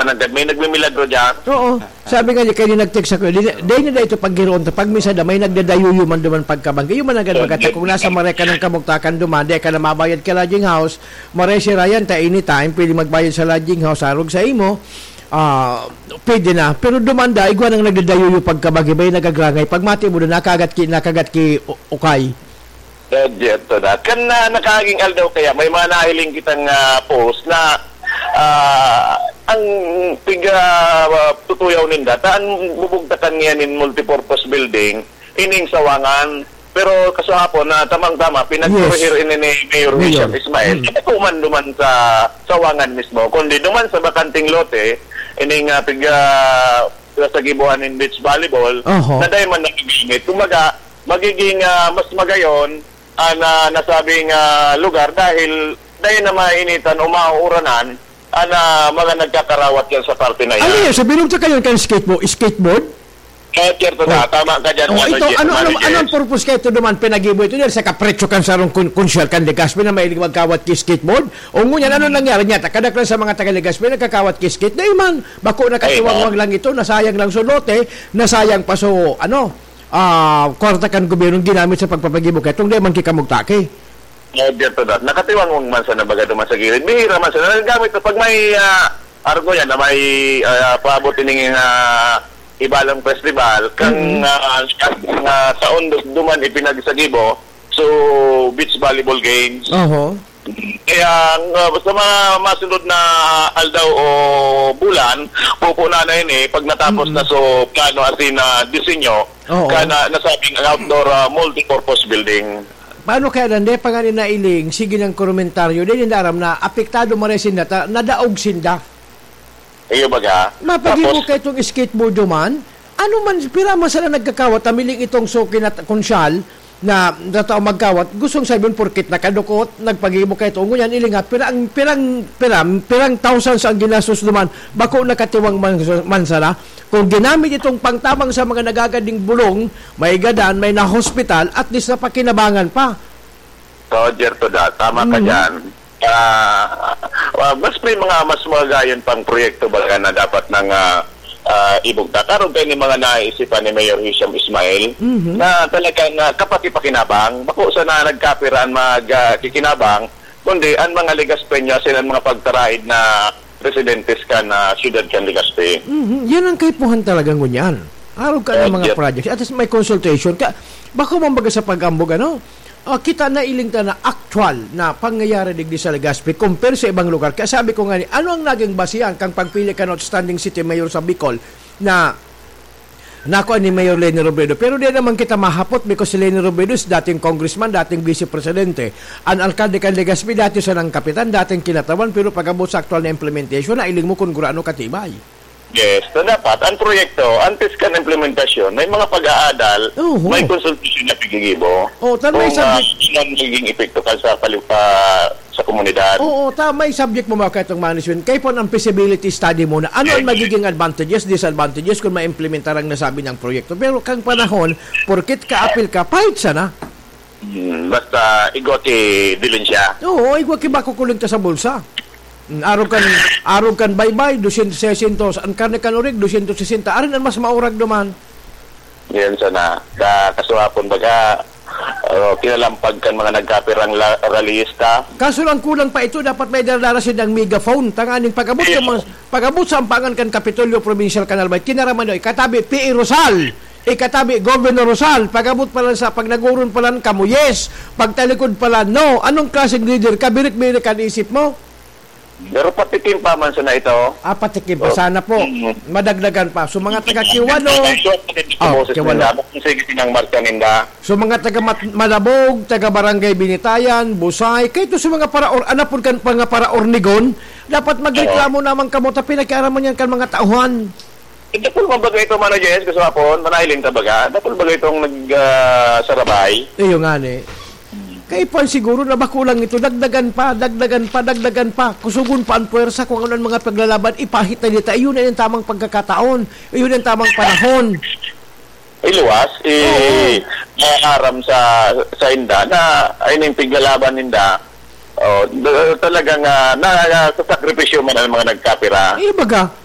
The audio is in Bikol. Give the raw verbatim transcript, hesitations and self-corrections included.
Nanggad, may nagmimilagro diyan. Oo. Sabi nga niya, kayo nag-text ako, di, di na ito paggiroon ta. Pag minsan na may nagdadayuyo man duman pagkabanggi. Yung mananggad, magata, kung nasa maray ka ng kamugtakan duman, di ka na mabayad ka lodging house, maray si Ryan, ta anytime, pwede magbayad sa lodging house, arog sa imo, ah, pwede na. Pero duman da, igwa nang nagdadayuyo pagkabanggi, may nagagrangay. Pag mati mo doon, nakagat ki, nakagat ki u-, ukay. Diyerto na. Kan na, nakaging aldaw kaya, may mga nahiling kitang, ah, post na, ah, ang pig-, ah, tutuyaw ninda, ta an bubugtakan niya nin multipurpose building, ining sawangan. Pero kasuhapon na tamang-tama, pinagkorehir Yes. ini ni Mayor Mayor. Wilson Ismail. Mm. Hindi po man duman sa sawangan mismo, kundi duman sa bakanteng lote, ining, ah, pig-, ah, sa gibuhan nin beach volleyball, Oho. na dahil man nagagamit. Kumbaga, magiging, ah, mas magayon ang, ah, nasabing, ah, lugar dahil dahil na mainitan o mauuranan ang, ah, mga nagkakarawat diyan sa parte na yan. Ano yan? Sa bilog sa kayo kan skateboard? Skateboard? Eh, siyerto na. Oh. Tama ka dyan, Oh, ano, ito, Jeff, ano, ano, Mano Jeff. Anong purpose kayo ito naman? Pinagibo ito dyan sa kapretsyo kan sarong kun-, kunsyal kan Legazpi na mahilig magkawat ki skateboard? O ngunyan, ano nangyari niya? Takadaklan sa mga taga Legazpi, nagkakawat ki skate. Dahil man, bako na Ay, katiwangwang no. lang ito, nasayang lang so lote, nasayang pa so, ano, ah, kwarta kan gobyernong ginamit sa pagpapagibo kay itong di man kikamugtaki. Diyerto na. Nakatiwangwang man sana baga duman sa gilid. Bihira man sana. Nagagamit na pag may, ah, arog yan na may, ah, paabot ining, ah, Ibalang Festival, kang, Mm. ah, ah, taon du-, duman ipinagsagibo. So, beach volleyball games. Oho. Kaya, ang, ah, sa mga masunod na aldaw o bulan, pupunan na yun eh, pag natapos Mm. na so plano asin na disenyo, Oo. ka na, nasabing outdoor, ah, multipurpose building. Paano kaya nande, pangani na iling, sige ng komentaryo, di ninda aram na apektado maray sinda, ta-, nadaog sinda. Iyo baga. Mapag-ibo Tapos ka itong skateboard man, ano man, pira man sila nagkakawat, tamiling itong suki na t-, konsyal, na, na tao magkawat, gustong sabihin, porkit nakadukot, nagpag-ibo ka ito. Ngunyan, ilingat, pirang, pirang, pirang, pirang thousands ang ginastos naman, bako nakatiwang man, man sana. Kung ginamit itong pangtabang sa mga nagagading bulong, may gadan, may na-hospital, at least napakinabangan pa. So, Jerto Da, tama ka Mhm. dyan. Ah, ah, mas may mga mas magayon pang proyekto baga na dapat nang, ah, ah, ibugtak. Karong kayo ni mga naisipan ni Mayor Hisham Ismail Mhm. na talagang, ah, kapati-pakinabang. Bako sana nagkapiraan mag, ah, kikinabang, kundi ang mga Legazpeño, sila ang mga pagtaraid na residentes kan, ah, siyudad kan Legazpi. Mhm. Yan ang kaipuhan talaga ngunyan. Arog ka ng Oh, mga yes. projects. At least may consultation ka. Bako man baga sa pag-ambog, ano? Ah, kita na iling ta na aktual na pangyayari digdi sa Legazpi compare sa ibang lugar. Kaya sabi ko nga ni, ano ang naging basihan kang pagpili kan outstanding city mayor sa Bicol na nakuha ni Mayor Leni Robredo? Pero di naman kita mahapot because si Leni Robredo is dating congressman, dating vice presidente. Ang alkalde kan Legazpi, dati sanang kapitan, dating kinatawan, pero pag-abot sa aktual na implementation, nailing mo kung gurano katibay. Yes, so dapat ang proyekto, antes kan implementasyon, may mga pag-aadal, Oo. may konsultasyon na pigigibo. Oh, tan may Kung, ah, subject ano ang magiging epekto ka sa pali-, ah, sa komunidad. Oo, ta may subject mo, mga kaitong management. Kaya po ang feasibility study muna. Ano ang Yes. magiging advantages, disadvantages kung ma-implementar ang nasabi niyang proyekto? Pero kang panahon, porkit ka-apil ka, pahit sana. Hmm, basta igwa ki dilin siya. Oo, igwa ki bako kuling ta sa bulsa. Mm, arog kan, arog kan baybay, dosyentos, seisyentos. Ang karne kan orig, dosyentos sesenta. Arin ang mas maurag duman. Yan sana. Sa kasuhapon, baga, oh, kinalampag kan mga nagkapirang la-, rallyista. Kaso lang kulang pa ito, dapat may dala-dala silang megaphone. Tanganing pag-abot sa Yes. mga, pag-abot sa ampangan kan Kapitolyo Provincial kan Albay, kinaraman nyo, ikatabi, P A Rosal, ikatabi, Governor Rosal, pag-abot pa lang sa, pag nagurun pa lang kamo, yes, pagtalikod pa lang, no. Anong klaseng leader ka? Birik-birik ang isip mo? Pero patikim pa man sana ito. Ah, patikim pa Oh. sana po. Mm. Madagdagan pa. So, mga taga Kiwano. Ang short na din sa Oh, boses Kiwano. nila. Bakit sige sinang marka ninda? So, mga taga Mat-, Malabog, taga Barangay Binitayan, Busay, kayo to sa mga para-, or, anapod kan mga para-Ornigon, dapat magreklamo Oo. naman kamo, ta pinakiaraman yan kan mga tauhan. Eh, dakul man baga ito, Mano Jens, gusto nga po, manahiling ta baga, dakul baga itong nag, ah, sarabay. Iyo nga ni. Kaipan siguro na bako lang ito, dagdagan pa, dagdagan pa, dagdagan pa. Kusugon pa ang puwersa kung ano ang mga paglalaban, ipahit na dito. Iyon na yung tamang pagkakataon. Iyon ang tamang panahon. Iluwas, i-, Oo. maaram sa, sa inda na, ay, yung piglalaban ninda, oh, d-, talagang, ah, na, na, sa sakripisyo man ang mga nagkapira. Eh, baga,